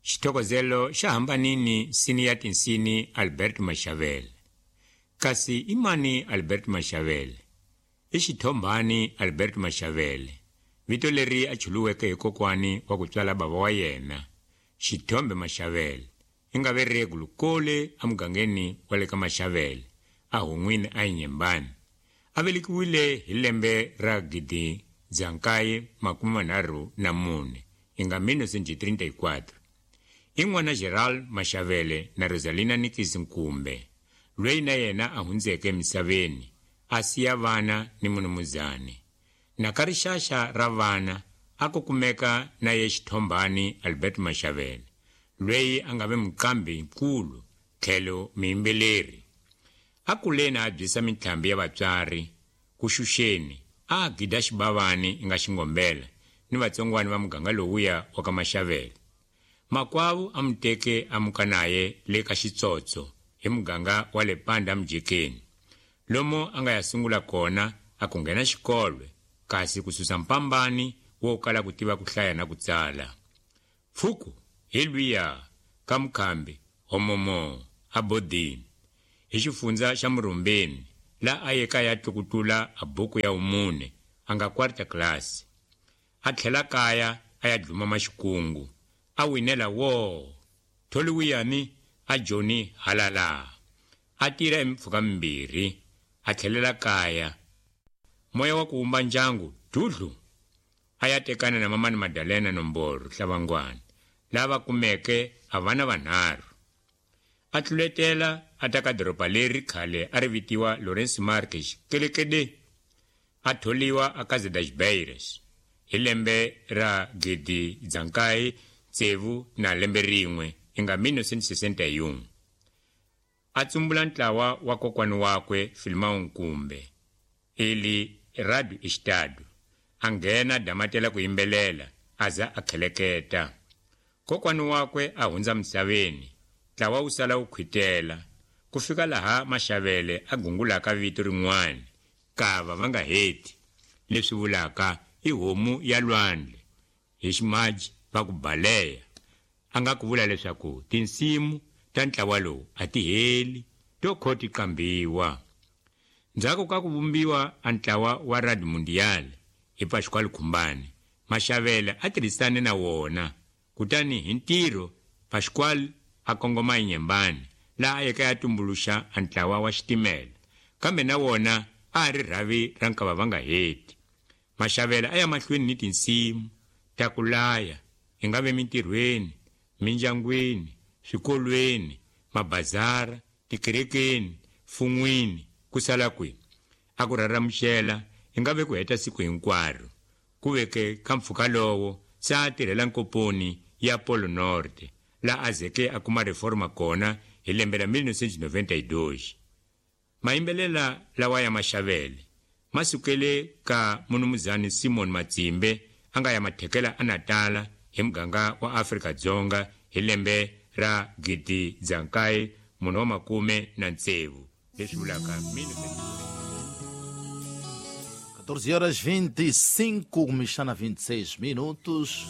Xithokozelo xa hambanini nsini ya tinsini Albert Mashavele. Kasi i mani Albert Mashavele? I xithombhani Albert Mashavele, vito leri a chuluweke hi kokwani wa ku tswala bava wa yena, Xithombe Mashavele, i nga ve Gulukole emugangeni wa le ka Mashavele, a Hun'wini a Inyembani. A velekiwile hi lembe ra 1934, i nga 1934. I n'wana Gerald Mashavele na Rosalina Nikisi Nkumbe, loyi na yena a hundzeke emisaveni, a siya vana ni munumuzani. Na ka rixaxa ra vana a ku kumeka na ye xithombhani Albert Mashavele, loyi a nga ve muqambi nkulu tlhelo muyimbeleri. A kuleni a byisa mintlhambi ya vatswari ku xuxeni, a gida xibavani i nga xingombela ni vatsongwani va muganga lowuya wa ka Mashavele. Makwavo a mu teke a muka naye le ka xitsotso hi muganga wa le Panda Mjekeni, lomo a nga ya sungula kona a ku nghena xikolo, kasi ku susa mpambani wo kala ku tiva ku hlaya na ku tsala. Pfuku hi lwiya ka mukhambi homomo a bodini hi xifundza xa Murumbeni, la a ye kaya tlukutula a buku ya umune a nga quarta class. A tlhela kaya a ya dluma maxikungu, a winela wo tholiwiyani a joni halala. A tirha emimpfhuka mimbirhi, a tlhelela kaya. Moya wa ku wumba ndyangu dudlu, a ya tekana na mamani Madalena Nomboro Hlavangwana, lava kumeke a vana vanharhu. A tluletela a ta ka doroba leri khale a ri vitiwa Lourenço Marques kelekede, a tholiwa a Casa das Beiras hi lembe ra 1961, i nga 1961. A tsumbula ntlawa wa kokwani wakwe Filimao Nkumbe, ili Radio Estado, a nghena damatela ku yimbelela a za a kheleketa. Kokwani wakwe a hundza misaveni, ntlawa wu sala wu khwitela, ku fika laha Mashavele a gungulaka vito rin'wana, Kava va nga heti, leswi vulaka i homu ya lwandle, hi ximaji va ku baleya. A nga ku vula leswaku tinsimu ta ntlawa lowu a ti heli, to kho ti qambiwa. Ndzhaku ka ku vumbiwa a ntlawa wa Radio Mundial hi Pascual Khumbane, Mashavele a tirhisane na wona, kutani hi ntirho Pascual a kongoma eNyembani, laha a yeke a tumbuluxa a ntlawa wa xitimela, kambe na wona a ri rhavi ra nkava va nga heti. Mashavele a ya mahlweni ni tinsimu ta ku laya, i nga ve mintirhweni, mindyangwini, swikolweni, mabazara, tikerekeni, fun'wini, ku sala kwihi. A ku rharamuxela i nga ve ku heta siku hinkwaro. Ku veke ka mpfhuka lowo se a tirhela nkoponi ya Polo Norte, la a zeke a kuma reforma kona hi lembe ra 1992. Mayimbelela lawa ya Mashavele ma sukele ka munumuzani Simon Matsimbe, a nga ya mathekela a Natala hi muganga wa Afrika Dzonga hi lembe ra 1946, leswi vulaka 14 horas 25, começando a 26 minutos.